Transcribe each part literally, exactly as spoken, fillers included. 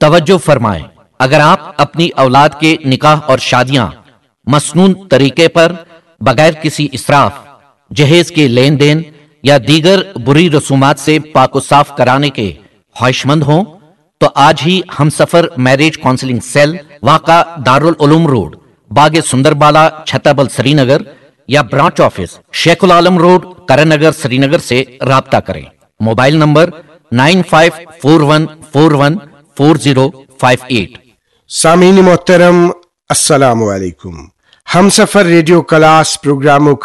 توجہ فرمائیں، اگر آپ اپنی اولاد کے نکاح اور شادیاں مسنون طریقے پر، بغیر کسی اسراف، جہیز کے لین دین یا دیگر بری رسومات سے پاک و صاف کرانے کے خواہشمند ہوں تو آج ہی ہم سفر میرج کاؤنسلنگ سیل، واقع دارالعلوم روڈ، باغ سندر بالا، چھتابل، سری نگر، یا branch office, Sheikh ul-Alam road, Karan Nagar, Srinagar سے رابطہ کریں۔ Mobile number nine five four one four zero five eight. سامعین محترم، السلام علیکم۔ ہمسفر ریڈیو کلاس پروگرامک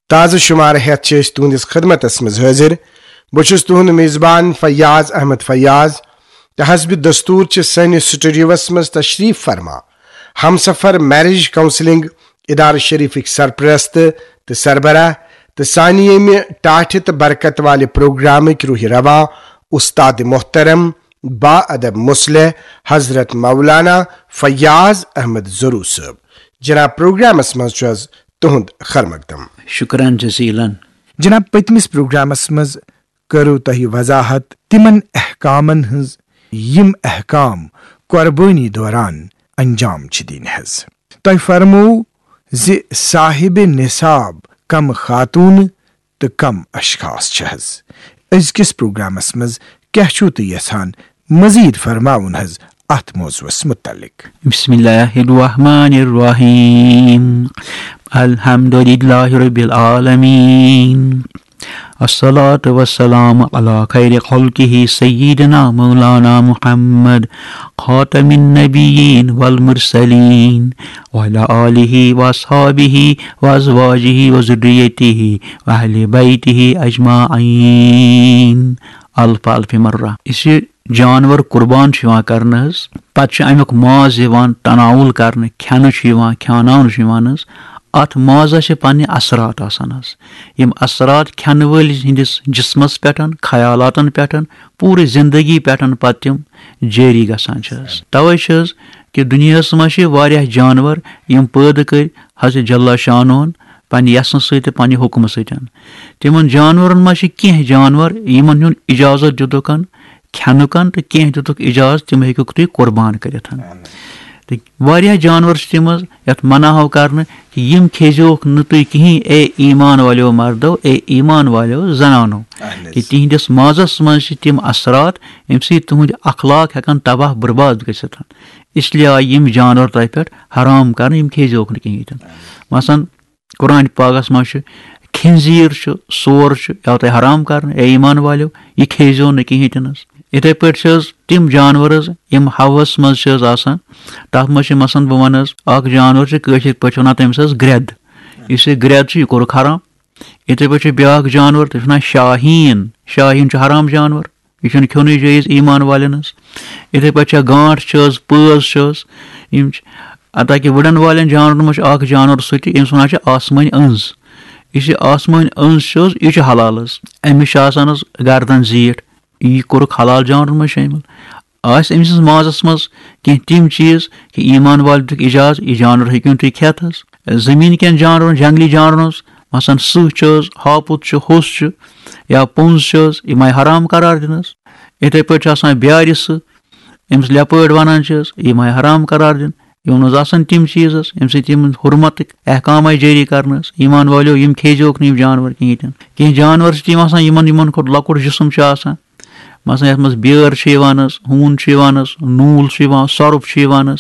تازٕ شمارٕ ہیتھ چھِ أسۍ تُہنٛدِس خدمتس منٛز حٲضِر۔ بہٕ چھُس تُہنٛد میزبان فیاض احمد فیاض، تہٕ حسب دستور چھِ سٲنِس سٹوڈیوس منٛز تشریف فرما ہمسفر میرج کاؤنسلنگ ادارٕ شریفٕکۍ سرپرست تہٕ سربراہ، تہٕ سانہِ ییٚمہِ ٹاٹھہِ تہٕ برکت والہِ پروگرامٕکۍ روح رواں، استاد محترم، با ادب مصلح، حضرت مولانا فیاض احمد ضرو صٲب۔ جناب، پروگرامس منٛز چھُ از تُہُنٛد خیر مقدم۔ شکرن جزیلن۔ جناب، پٔتمِس پروگرامس منٛز کٔرٕو تۄہہِ وضاحت تِمن احکامن ہٕنٛز، یِم احکام قربٲنی دوران انجام چھِ دِنۍ حظ۔ تۄہہِ فرموو زِ صاحب نصاب کم خاتون تہٕ کم اشخاص چھِ حظ۔ أزکِس پروگرامس منٛز کیٛاہ چھِو تُہۍ یژھان مزید فرماوُن حظ اتھ موضوعس متعلق؟ بسم الله الرحمن الرحيم. الحمد لله رب العالمين. الصلاة والسلام على خير خلقه سيدنا مولانا محمد خاتم النبيين والمرسلين وعلى آله وأصحابه وأزواجه وذريته وأهل بيته أجمعين. الف الف مرة. یُس یہِ جانور قربان چھُ یِوان کرنہٕ حظ، پتہٕ چھُ امیُک ماز یِوان تناول کرنہٕ، کھٮ۪نہٕ چھُ یِوان، کھیاناونہٕ چھُ یِوان حظ۔ اتھ مازس چھِ پننہِ اثرات آسان حظ۔ یِم اثرات کھٮ۪نہٕ وٲلۍ ہٕنٛدِس جسمس پٮ۪ٹھ، خیالاتن پٮ۪ٹھ، پوٗرٕ زندگی پٮ۪ٹھ پتہٕ تِم جٲری گژھان چھِ حظ۔ توے چھِ حظ کہِ دُنیاہس منٛز چھِ واریاہ جانور یِم پٲدٕ کٔرۍ حضرت جل شانہن پننہِ یژھنہٕ سۭتۍ تہٕ پننہِ حُکمہٕ سۭتۍ۔ تِمن جانورن منٛز چھِ کینٛہہ جانور یِمن ہُنٛد اجازت دِتُکھ کھٮ۪نُک تہٕ کینٛہہ دِتُکھ اجازت تِم ہیٚکِوکھ تُہۍ قربان کٔرِتھ۔ تہٕ واریاہ جانور چھِ تِم حظ یتھ منع آو کرنہٕ کہِ یِم کھیزیوکھ نہٕ تُہۍ کِہیٖنۍ، اے ایمان والیو مردو، اے ایمان والیو زنانو، کہِ تِہنٛدِس مازس منٛز چھِ تِم اثرات ییٚمہِ سۭتۍ تُہنٛدۍ اخلاق ہٮ۪کن تباہ برباد گٔژھِتھ۔ اس لیے آیہِ یِم جانور تۄہہِ پٮ۪ٹھ حرام کرنہٕ، یِم کھیزیوکھ نہٕ کِہیٖنۍ تہِ نہٕ۔ مثلاً قرآن پاکس منٛز چھُ خنزیر چھُ، سور چھُ، یہِ آو تۄہہِ حرام کرنہٕ، اے ایمان والیو، یہِ کھیزیو نہٕ کِہیٖنۍ تہِ نہٕ حظ۔ یِتھے پٲٹھۍ چھِ حظ تِم جانور حظ یِم ہوہس منٛز چھِ حظ آسان، تتھ منٛز چھِ مثلاً بہٕ ونہٕ حظ اکھ جانور چھُ کٲشِر پٲٹھۍ ونان تٔمِس حظ گرٮ۪د۔ یُس یہِ گرٮ۪د چھُ یہِ کوٚرُکھ حرام۔ یِتھے پٲٹھۍ چھُ بیاکھ جانور تٔمِس ونان شاہیٖن، شاہیٖن چھُ حرام جانور۔ یہِ چھُنہٕ کھیوٚنُے جٲیز ایمان والٮ۪ن ہٕنٛز۔ یِتھے پٲٹھۍ چھےٚ گانٹھ چھِ حظ، پٲژ چھِ حظ، یِم چھِ، حتیٰ کہِ وُڈن والٮ۪ن جانورن منٛز چھُ اکھ جانور سُہ تہِ ییٚمِس ونان چھِ آسمٲنۍ أنٛز۔ یُس یہِ آسمٲنۍ أنٛز چھِ حظ، یہِ چھُ حلال حظ۔ أمِس چھِ آسان حظ گردن زیٖٹھ، یہِ کوٚرُکھ حلال جانورن منٛز شٲمِل۔ آسہِ أمۍ سٕنٛز مازس منٛز کینٛہہ تِم چیٖز کہِ ایمان والٮ۪ن دیُتُکھ اجازت، یہِ جانور ہیٚکِو نہٕ تُہۍ کھٮ۪تھ حظ۔ زٔمیٖن کٮ۪ن جانورن، جنگلی جانورن حظ، مثلاً سٕہہ چھِ حظ، ہاپُت چھُ، ہوٚس چھُ، یا پوٚنٛز چھِ حظ، یِم آیہِ حرام قرار دِنہٕ حظ۔ یِتھے پٲٹھۍ چھِ آسان بیارِ سٕہہ، أمِس لیپٲڈ ونان چھِ حظ، یِم آیہِ حرام قرار دِنہٕ۔ یِمن منٛز آسان تِم چیٖز حظ، ییٚمہِ سۭتۍ یِمن حرمتٕکۍ احکام آیہِ جٲری کرنہٕ حظ۔ ایمان والیو، یِم کھیزیوکھ نہٕ یِم جانور کِہیٖنۍ تہِ نہٕ۔ کینٛہہ جانور چھِ تِم آسان، یِمن، یِمن کھۄتہٕ لۄکُٹ جسم چھُ آسان۔ مثلاً یتھ منٛز بیٲر چھِ یِوان حظ، ہوٗن چھُ یِوان حظ، نوٗل چھُ یِوان، سۄرُپھ چھُ یِوان حظ۔